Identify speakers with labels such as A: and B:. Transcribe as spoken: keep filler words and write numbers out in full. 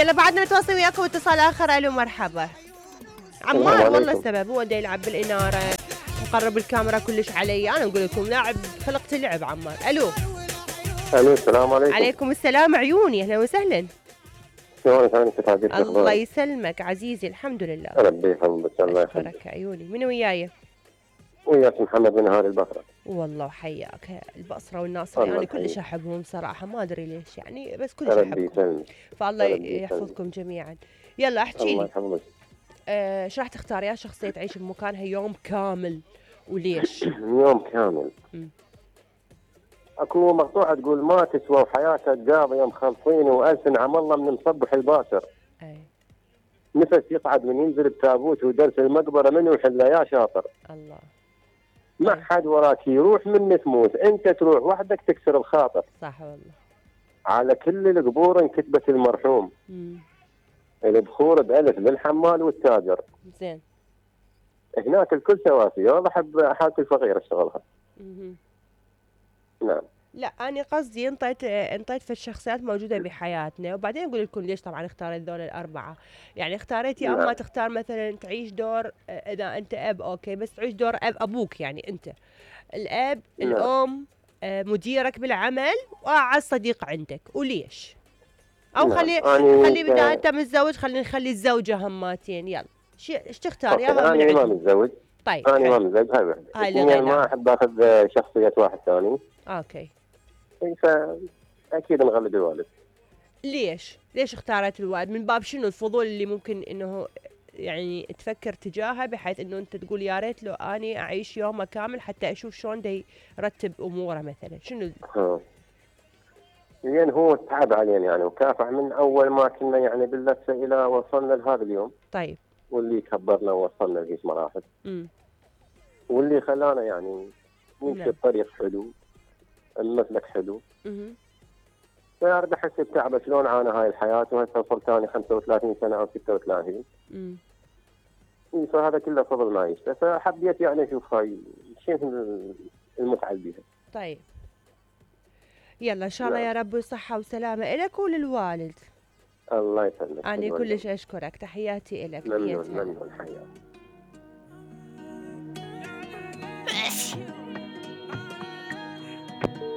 A: يلا بعدنا نتواصل وياكم اتصال اخر. الو مرحبا عمار. والله السبب هو دا يلعب بالاناره مقرب الكاميرا كلش علي. انا اقول لكم لاعب خلقت اللعب عمار. الو
B: الو السلام عليكم.
A: عليكم السلام عيوني اهلا وسهلا.
B: شلونك انت حبيبتي؟
A: الله يسلمك عزيزي الحمد لله.
B: ربي يحفظك الله يحفظك.
A: اشكرك عيوني. من وياي؟
B: وياك محمد من هذه البصره.
A: والله وحياك البصره والناصري انا يعني كلش احبهم صراحه ما ادري ليش يعني بس كلش احبهم. فالله يحفظكم جميعا. يلا احكي لي.
B: الله يحفظك.
A: آه شو راح تختار يا شخصيه تعيش بمكانها يوم كامل وليش؟
B: يوم كامل. م. اكو مقطوعه تقول ما تسوى وحياتك قاضيه مخلصين والسن عم الله من مصبح الباشر.
A: اي
B: نفس يصعد من ينزل بتابوت ودرس المقبره منو يحله يا شاطر.
A: الله.
B: ما حد وراك يروح من تموت انت تروح وحدك تكسر الخاطر.
A: صح والله.
B: على كل القبور انكتبت المرحوم. امم البخور بألف للحمال والتاجر.
A: زين.
B: هناك الكل سواسية والله احب حالة الفقير اشتغلها. امم نعم.
A: لا أنا قصدي انطيت انطيت في الشخصيات موجودة بحياتنا وبعدين أقول لكم ليش طبعا اختاريت ذول الأربعة. يعني اختاريت يا أما تختار مثلا تعيش دور إذا أنت أب أوكي بس تعيش دور أب أبوك يعني أنت الأب نعم. الأم مديرك بالعمل وأعز صديق عندك وليش؟ أو نعم. خلي خلي بدأ أنت متزوج خلينا نخلي الزوجة هماتين يلا ايش تختار يا
B: أنا أنا ما متزوج.
A: طيب
B: أنا ما متزوج هاي وحدة. هاي ما أحب آخذ شخصية واحد ثاني.
A: أوكي.
B: فأكيد نغلب الوالد.
A: ليش؟ ليش اختارت الوالد؟ من باب شنو الفضول اللي ممكن إنه يعني تفكر تجاهه بحيث إنه أنت تقول يا ريت لو أني أعيش يومه كامل حتى أشوف شلون دا يرتب أموره مثلا شنو؟
B: ها. لأن هو تعب علينا يعني وكافح من أول ما كنا يعني باللفة إلى وصلنا لهذا اليوم.
A: طيب.
B: واللي كبرنا ووصلنا لهيك مراحل. امم واللي خلانا يعني نمشي بطريق حلو. المسلك حلو. اها. فأرد أحس بتعب شلون عانى هاي الحياة وهسه وصلت ثاني خمسة وثلاثين سنة أو ستة وثلاثين. امم فهذا كله فضل ما يشتى فحبيت يعني أشوف هاي شنو المتعة بيها.
A: طيب. يلا إن شاء الله يا رب صحة وسلامة إلك وللوالد.
B: الله يسلمك.
A: أنا كلش أشكرك تحياتي إلك.
B: ممنون ممنون حياتي.